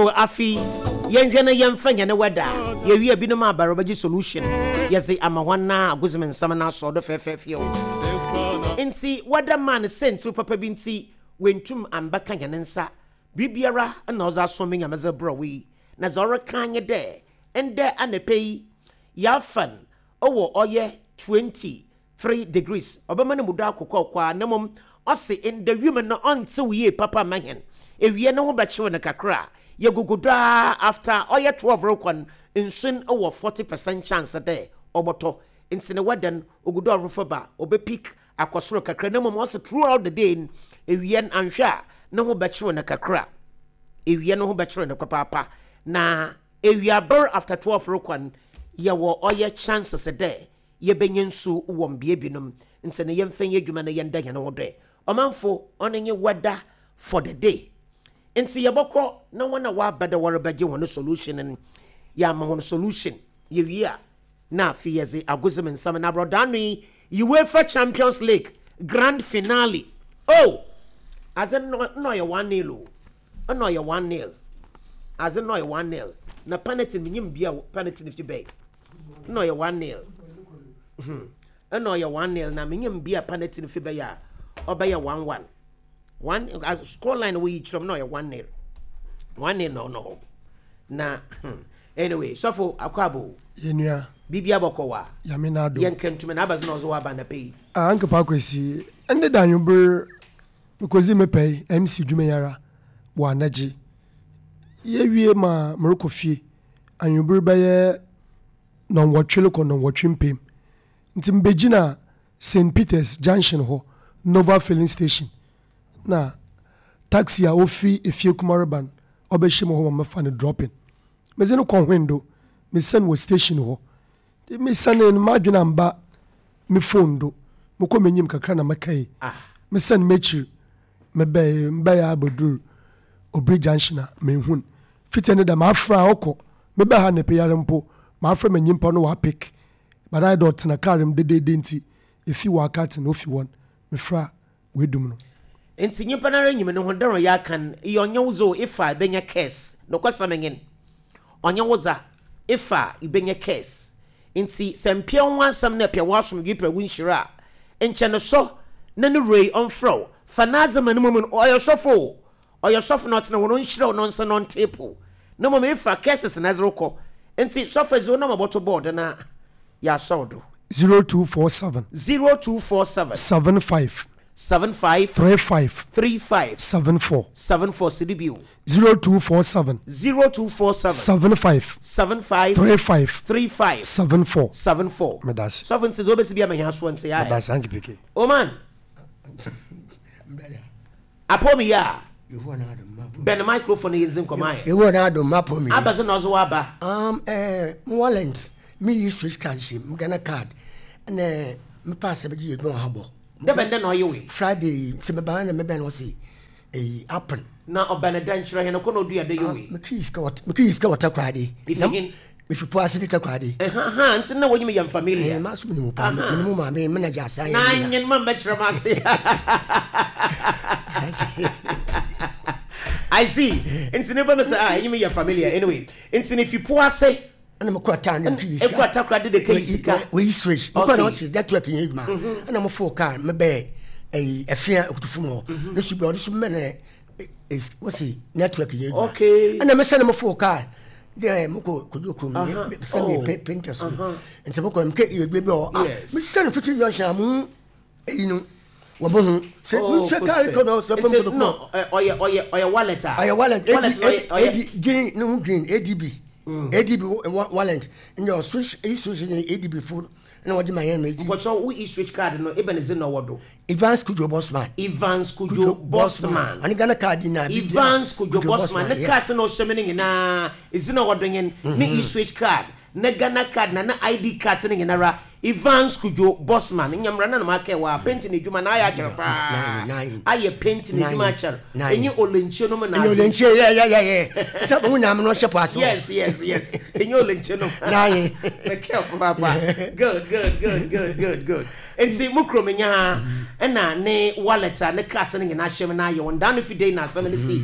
So afe yi yɛnhwɛ na yɛmfa hɛn weather a yewie binom aba rebɛgye solution yɛdze ama hɔn na agodzim nsɛm no asɔw do fɛɛfɛɛfɛw. Ntsi weather man siantsir papa bi ntsi oenntum ammbɛka hɛn nsa. Biribiara na ɔdze asom me Nyame dze brɛ wo yi, na dza ɔrekã nye dɛ ndɛ anapa yi yɛafa no wɔ ɔyɛ 23 degrees, ɔbɛma no mu do akɔ kɔkɔɔ a, na mbom ɔse ndɛ wimu no ɔnntsew yie papa mma hɛn, ewia no ho bɛkyew no kakra, yegugu do ara after ɔyɛ 12 rokɔ no nsu no wɔ 40% chance dɛ ɔbɔtɔ, ntsi no weather no ogu do ɔrofɔ ba, ɔbɛ peak akɔ soro kakra, na mbom ɔse throughout the day no ewia no annhwɛ a no ho bɛkyew no kakra, ewia no ho bɛkyew no papaapa, na ewiaber after 12 rokɔ no yɛwɔ ɔyɛ chances dɛ yebenya nsu wɔ mbea binom ntsi no yɛmfa nyɛ edwuma na yɛnda hɛn ho do ɛ. Ɔmamfo, ɔno nye weather for the day. Ntsi yɛbɔkɔ na hɔn a wɔaba dɛ wɔrebɛgye hɔn solution no, yɛama hɔn solution. Yewie a, na afei yɛdze agodzim nsɛm na aborɔdaano yi, UEFA Champions League grand finale. Oh! Adze no nna ɔyɛ one-nil o. Nna ɔyɛ one-nil. Adze no nna ɔyɛ one-nil. Na penalty no, minyim bea a penalty no fi bae. Nna ɔyɛ one-nil. Hmm. Nna ɔyɛ one-nil na minyim bea a penalty no fi bae a ɔbɛyɛ one-one. One score line woyi kyerɛ mu na ɔyɛ 1-0. 1-0 na ɔno hɔ. Na hmm, anyway, sɔfo akwabo. Yɛnua. Biribi abɔkɔ wa. Yame na ado. Yɛn kɛntumi na abazi na ɔzo aba na pɛyi. Ah, anka pa kwesi. Ɛnde da anwumber mekodzi me pɛi MC dwuma yi ara wɔ anagye. Yɛwie ma merekɔ fie anwumber bɛyɛ nɔnwɔtwe rekɔ nɔnwɔtwe mpem. Nti mebegyina Saint Peters junction hɔ, Nova filling station, na taxi a ofi Efie-Kuma reba no, ɔbɛhyɛ mu hɔ ma mɛfa no dropping. Medze no kɔ Hwendo, mesian wɔ station hɔ. Ntsi mesianee no, m'adwen ammba me phone do. Mokɔ m'enyim kakra na mekɛe. Mesian m'ekyir, mebɛe, mebɛe ara bodur Obiri junction a, mennhu no. Fitsi ndɛ da, mafrɛ a ɔkɔ. Mebaa ha anapa yi ara mpo, mafrɛ ma nyimpa no ɔapick. But ayɛ dɛ ɔtsena kaar mu dedeede ntsi, efi ɔakatse na ofi hɔ no, mefrɛ a, oedum no. Ntsi nyimpa noara nyim no ho dɛ ɔyɛ akan, eyɛ ɔnnyɛ wo dze o, efa a ebenya curse. Nokwasɛm nye n', ɔnnyɛ wo dza, efa a ibenya curse. Ntsi sɛ mmpɛ woho asɛm na epɛ w'asomdwee pɛ wo nhyira a, nkyɛ no sɔ na no wura yi ɔmfrɛ wo, fa n'adze ma no mbom no, ɔyɛ sɔfo o, Ɔyɛ sɔfo na ɔtsena hɔ no ɔnhyira wo na ɔnsa na ɔntape wo na mbom efa curses na edze rokɔ ntsi sɔfo edze wo number bɔto board na yɛasɔw do. 0247. 0247. 75. 75. 35. 35. 74. 74 si do bio. 0247. 0247. 75. 75. 35. 35. 74. 74. Medase. Sɔfo ntsi dza obesi bia ma hɛn asowa ntsi ae. Medase Auntie PK. Oman. Apɔ mi yɛ a. Bɛn microphone yi ndzi nkɔmɔ ayɛ. Yehowa n'adom mapɔ mi. Abɛdze na ɔdze w'aba. Um, eh, mo wallet, me yi switch card hyɛ mu, Ghana card, ɛna me pass ɛbɛgye yɛ adwuma wɔ ha bɔ. Dɛ bɛn dɛ na ɔyɛ wei? Friday, nti me ban na me bɛn ɔse, eyi, appen. Na ɔbɛn dɛ nkyerɛ hɛn kɔ na odua dɛ yɛ wei? Me kii sika wɔ, me kii sika wɔ Takoradi. Ifi hen? Mifi po ase de Takoradi. Ɛha nti na wɔnyim yɛn familia. Ɛɛ, maso menim wo paa, menim wo maame, me na gya asa yɛ. Na nyen ma mbɛkyerɛ m ase. I see. Nti ne ba mi sɛ ah, enyim yɛ familia anyway. Nti ne fi po ase. Ɛna mo kɔ taa ne mpi sika. Ekɔ Takoradi de kɛyi sika. Wɔyi switch. Mo kɔ na ɔsi network yɛ adwuma. Ɛna mo fo car me bɛɛ ɛyi ɛfia okutufu mu hɔ. Ne su bi ɔde su mɛ ne wɔsi network yɛ adwuma. Okay. Ɛna me sɛ ne mo fo car. Deɛ mo kɔ kojú kurom sɛ mi painter so nti mo kɔ mi kɛ egbe bi wɔ ah mi sɛ no fiti junction amu eyi no wɔn mo ho sɛ mi sɛ kaari kɔ na sɛ fɛn kɔ no ɔyɛ ɔyɛ ɔyɛ wallet a ɔyɛ wallet ad ad green ne ho green adb adb wallet ndɛ ɔso eyi so ne adb fo na wɔde ma yɛn no eyi. Mpɔkyɛw wo e-switch card no ebɛn dze na ɔwɔ do. Evans Kudjo Bossman. Evans Kudjo Bossman. Ɔne Ghana card nyinaa. Evans Kudjo Bossman ne cards na ɔhyɛ me no nyinaa edzi na ɔwɔ do nye ne e-switch card, ne Ghana card na ne ID cards no nyinara. Evans Kudjo Bossman nyamra na na makɛɛ wɔ a painting edwuma na ayɛ akyɛr paa. Ayɛ painting edwuma akyɛr. Enye Olenkyie nom na adze. Olenkyie yeah yeah yeah yeah. Sɛ mo nyinaa mo no ɔhyɛ po ase. Yes yes yes. Enye Olenkyie nom. Naaye. Mekɛɛ papaapa. Good good good good good good. Ntsi mo kurom nye ha na ne wallet a ne cards no nyina hyɛ mu na ayɛ wɔn daa no fi dei na asɛm no si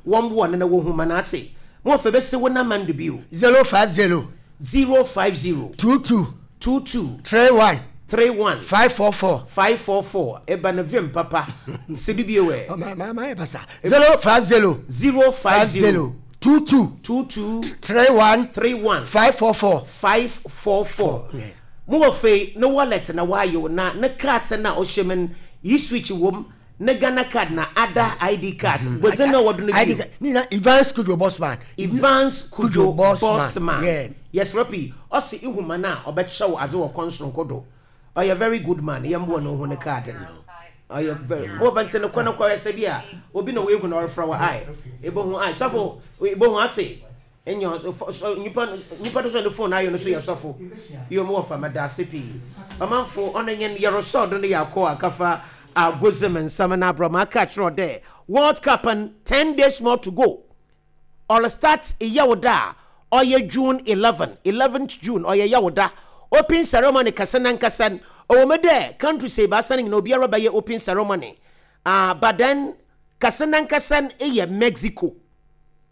wɔn boa no na wohu ma no atse. Mo wɔfa bɛsi wo nama no do bio. 050 050 22 22 31 31 544. 544. Eba no vim papa. Si do bio ɛ. Oh, ma ma ma yɛ basa. 050 050 50 22 22 31 31 544. 544. Yeah. Mo wɔ fei ne wallet na waayɛ na ne card na ɔhyɛ mu no, yi switch wom ne Ghana card na ada ID card. Gbedze na wɔdo no ID bio. card. Ni na Evans Kujo Bossman. Evans Kujo Kujo Bossman. Bossman. Yeah. Yes, Rapi. Ɔsi ihuma na ɔbɛkyɛw adze wɔ kɔnsoronko do. Ɔyɛ very good man. Yɛmboa no ho ne card no. Ɔyɛ very. Mo vɛnti no kɔ no kɔ ɛsɛ bi a obi na wehu na ɔrefrɛ wɔ ai. Ebohu ai. Sɔfo ebohu ase. Enya nipa nipa do so ne phone ayɛ no so yɛ sɔfo. Yo mo wɔ fa mada ase pii. Ɔmanfo ɔno nyɛ yɛrosɔ do no yɛ akɔ akafa agozem nsɛm na abrɔ ma aka kyerɛ dɛ World Cup and 10 days more to go. Ɔre start Yawuda a ɔyɛ June 11, 11th June ɔyɛ Yawuda. Open ceremony kɛse nankasa no, ɔwɔ mu dɛ country sɛ ebaasa no nyinaa obiara bɛyɛ open ceremony. But then kɛse nankasa no yɛ Mexico.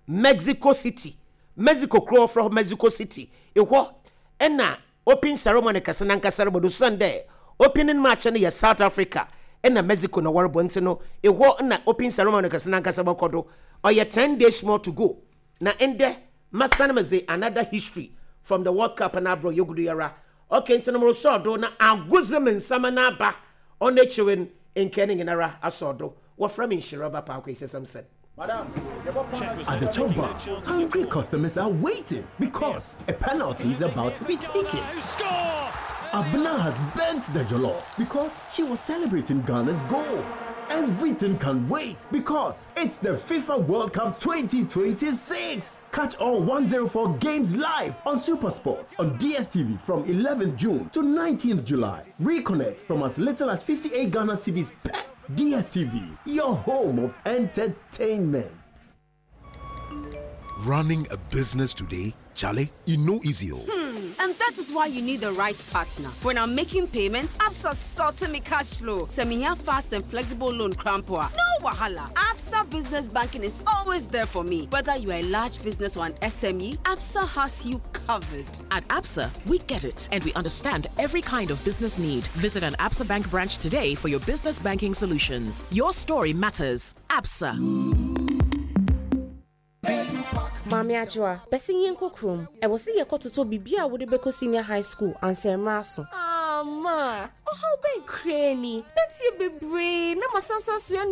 Mexico City. Mexico kuro wɔfrɛ hɔ Mexico City. Ehɔ ɛna open ceremony kɛse nankasa no bɔdo san dɛ opening match no yɛ South Africa ɛna Mexico na wɔrebɔ nti no ehɔ na open ceremony kɛse nankasa bɔkɔ do. Ɔyɛ 10 days more to go. Na ndɛ masan medze another history from the World Cup na abrɔ yɛgudu yara. Okay, nti no morosɔɔ do na agodze me nsɛm no aba ɔno ekyir no nkɛ ne nyinara asɔɔ do. Wɔfrɛ me Nhyira Ba Paako Ese Samson. At the chop bar, hungry customers are waiting because a penalty is about to be taken. Abna has burnt the jollof because she was celebrating Ghana's goal. Everything can wait because it's the FIFA World Cup 2026. Catch all 104 games live on Supersport on DSTV from 11th June to 19th July. Reconnect from as little as 58 Ghana cedis per DSTV, your home of entertainment. Running a business today, Charlie, e no easy o. And that is why you need the right partner. When I'm making payments, Absa sorting me cash flow. Send me here fast and flexible loan crampoa. No wahala. Absa Business Banking is always there for me. Whether you are a large business or an SME, Absa has you covered. At Absa, we get it and we understand every kind of business need. Visit an Absa Bank branch today for your business banking solutions. Your story matters. Absa. Maame Adwoa, bɛsi yɛnkɔ kurom. Ɛwɔ sɛ yɛkɔtotɔ biribi a wode bɛkɔ senior high school ansa mmerɛ aso. Ama, ɔhaw bɛn koraa ni? Bɛntie bebree na masan so asoa nneɛma.